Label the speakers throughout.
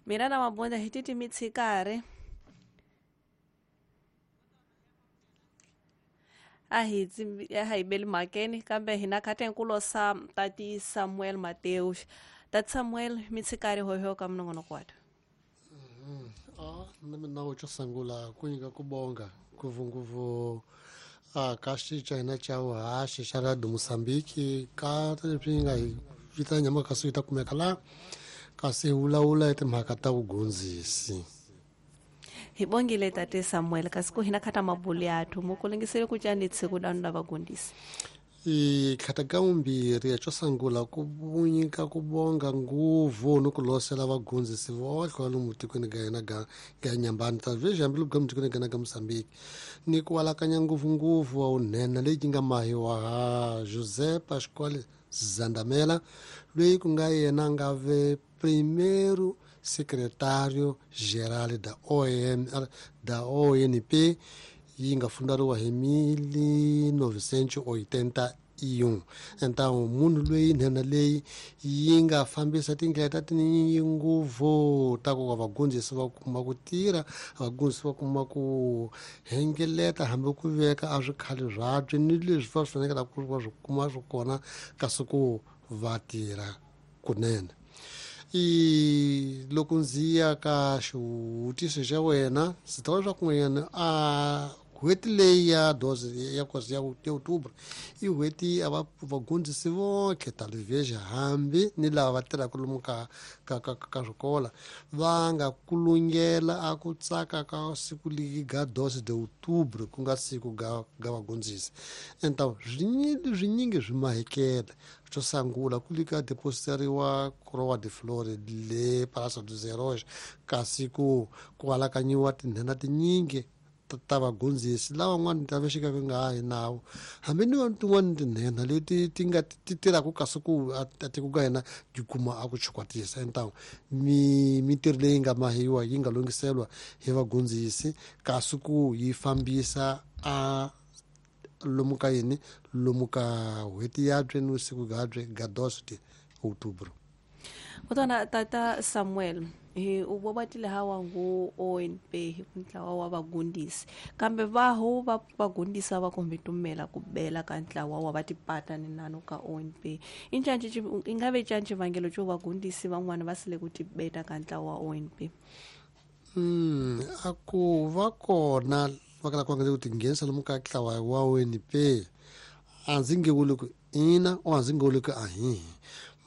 Speaker 1: Mina na Mabunda hi titi mitshikari a hi a hi beli mhakeni kambe hina khatenkulo sa tati Samuel Mateus. Tati Samuel mitshikari hoho ka minongonoko watu.
Speaker 2: Na mina wo sungula ku nyika ku bonga ngopfungopfu ka xica hina xa vuhaxi xa Radio Mozambique ka leswi nga hi vita nyama kasi yi ta kumeka laha kasi hi vulavula hi timhaka ta vugondzisi.
Speaker 1: Hi bongile tate Samuel kasi ku hina khata mabulu yathu mukulingisele ku cani tsiku danu la vagundisi.
Speaker 2: I khata ka vumbirhi xo sungula ku nyika ku bonga nguvu ni ku losela vagondzisi vohle va lomu tikweni ga hina ga ga Nyambani ta vhezhi hambi loko tikweni ga hina ga Mozambique ni ku walakanya ngopfungopfu wa vunhenha leyi nga mahiwa ha José Pascual Zandamela loyi ku nga yena nga ve primeiro secretário geral da OM da ONP yi nga fundariwa hi 1981. Então munhu loyi nhenha leyi yi nga fambisa tindlela ta tinyingi ngopfu ta ku vagondzisi va kuma ku tirha, vagondzisi va kuma ku hengeleta hambi ku veka a swikhale swabye ni leswi va swi fanekele ku va swi kuma swi kona kasi ku va tirha kunene. I loko ndzi ya ka xivutiso xa wena ndzi ta vula leswaku n'wanyana a n'hweti leyi ya doze ya kosi ya Outubro i n'hweti a va vagondzisi vonke talvez hambi ni lava va tirhaka lomu ka ka ka ka swikola va nga kulungela a ku tsaka ka siku leri ga 12 de Outubro ku nga siku ga ga vagondzisi. Então swinyingi swi mahekela. Xo sungula ku lika depositeriwa Coroa de Flores le Praça dos Heróis kasi ku ku alakanyiwa tinhenha tinyingi ta vagondzisi lavan'wana ta vexika ku nga ha hi nawu hambi ni tin'wana tinhenha leti ti nga ti tirhaka kasi ku a tiko ka hina yi kuma a ku chukwatisa. Então mintirho leyi nga mahiwa yi nga lunghiselwa hi vagondzisi kasi ku yi fambisa a lomu ka yini lomu ka n'hweti yabye ni vusiku byabye ga 12 de Outubro.
Speaker 1: Kutona tata Samuel hi u vobatile hawa ngu ONP hi ku ntlawa wa vagundisi kambe vaho va vagundisa va kombe tumela ku bela ka ntlawa wa va tipata ni nano ka ONP. Incanci ingabe canci vangelo xo vagundisi van'wana va sile ku tibeta ka ntlawa wa ONP.
Speaker 2: A ku va kona va kala ku ku tinghenisa lomu ka ntlawa wa ONP a ndzi nge vuli ku ina o a ndzi nge vuli ku ahihi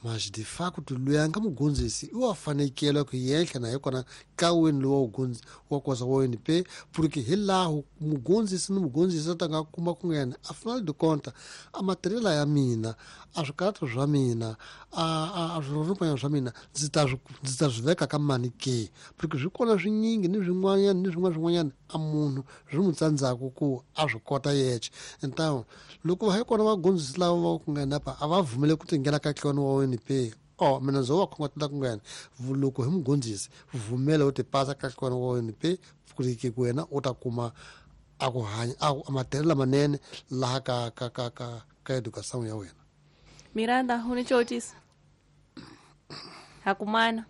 Speaker 2: mas de facto loyi a nga mugondzisi i wa fanekele ku yenhla na hi kona ntlawini lowu wa wa kosa wa ONP porque hi laha mugondzisi ni mugondzisi a ta nga kuma ku nga yena a final de conta a matirhela ya mina a swikarhato swa mina a swirhorhopanyana swa mina ndzi ta swi veka ka mani ke porque swi kona swinyingi ni swin'wanyana ni swin'wana swin'wanyana a munhu swi n'wi tsandzaka ku a swi kota yexe. Então loko va hi kona vagondzisi lava va ku nghena pa a va vumele ku tinghena ka ntlawani wa ONP o mina ndzo va khongotela ku nghena loko hi mugondzisi vumela u tipasa ka ntlawani wa ONP ku ku wena u ta kuma a ku hanya a matirhelo lamanene laha ka ka ka ka ka education ya wena.
Speaker 1: Miranda u ni cotisa hakumana.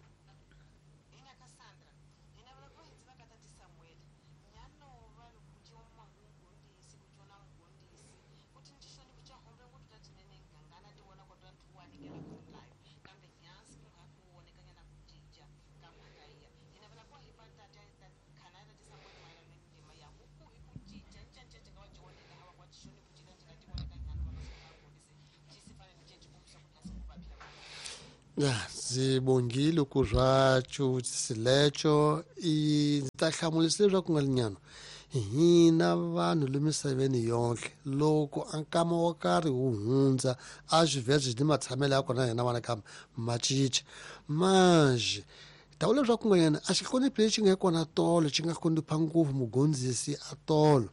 Speaker 2: Ndzi bongile ku swa xivutiso i ndzi ta hlamulisa leswaku nga linyana hina vanhu le misaveni yonke loko a nkama wo karhi wu hundza a swivheze ni matshamelo ya kona hina vana kambe ma cinca manje ta vula leswaku nga yena a xihloniphi lexi nga kona tolo xi nga hlonipha ngopfu mugondzisi a tolo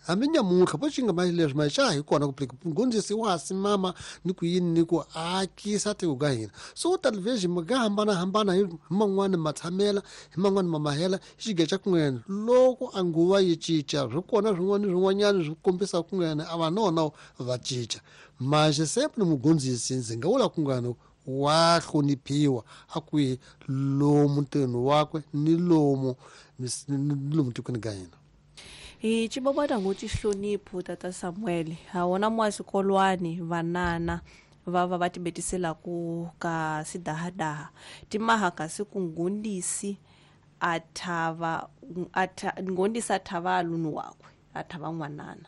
Speaker 2: hambi nyamuntlha po xi nga mali leswi ma xa hi kona ku mugondzisi wa ha simama ni ku yini ni ku akisa tiko ka hina so talvez mi nga hambanahambana hi man'wani matshamela hi man'wani mamahela xiga xa ku nghena loko a nguva yi cinca swi kona swin'wana swin'wanyana swi kombisa ku nghena a va nona va cinca manje sempre mugondzisi ndzi nga vula ku nghena Wa hloniphiwa a kwihi lomu ntirhweni wakwe ni lomu ni lomu tikweni ka hina.
Speaker 1: Hi cibobota ngutsi hlonipho tata Samuel ha wona mwa swikolwani vanana va va va tibetiselaku ka sidahadaha timaha kasi ku ngundisi a thava ngondisi a thava alunu wakwe a thava n'wanana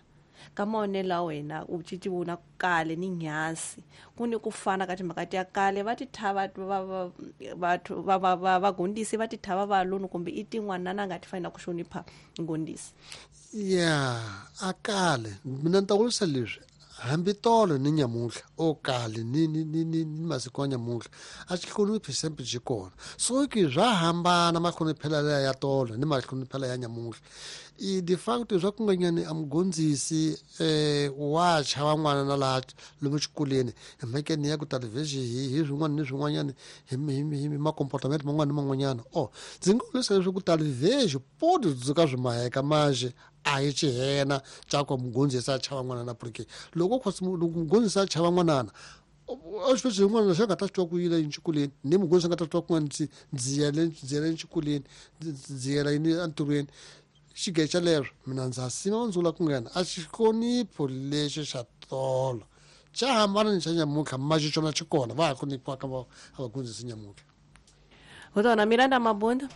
Speaker 1: ka maonelo a wena u cici vona kale ni nyasi ku ni ku fana ka timhaka ti ya kale va ti thava vathu va vagondisi va ti thava valunu kumbe i tin'wanana nga ti fanela ku hlonipha ngondisi.
Speaker 2: Ya a kale mina ni ta vurisa leswi hambi tolo ni nyamuntlha o kale ni masiku ya nyamuntlha a xi hloniphi sempe xi kona so ki swa hambana mahloniphelo ya ya tolo ni mahloniphelo ya nyamuntlha i de facto swa ku nga nyani a mugondzisi wa chava n'wana na laha lomu xikolweni hi mhakeni ya ku talivhexi hi swin'wana ni swin'wanyana hi makomportamento man'wana ni man'wanyana o ndzi nga vurisa leswaku talivhexi poto dzuka swi maheka manje a hi xihena xa ku mugondzisi a chava n'wanana porque loko loko mugondzisi a chava n'wanana a xi xin'wana lexi a nga ta swi twa ku yile exikolweni ni mugondzisi a nga ta swi twa ku ndzi yele exikolweni ndzi yela yini entirhweni xigece xa leswo mina ndza sima ndzi vula ku nghena a xihlonipho lexi xa tolo xa hambana ni xa nyamuntlha maxi xona xi kona va ha hloniphiwa ka va a vagondzisi nyamuntlha.
Speaker 1: Hotona Miranda Mabunda.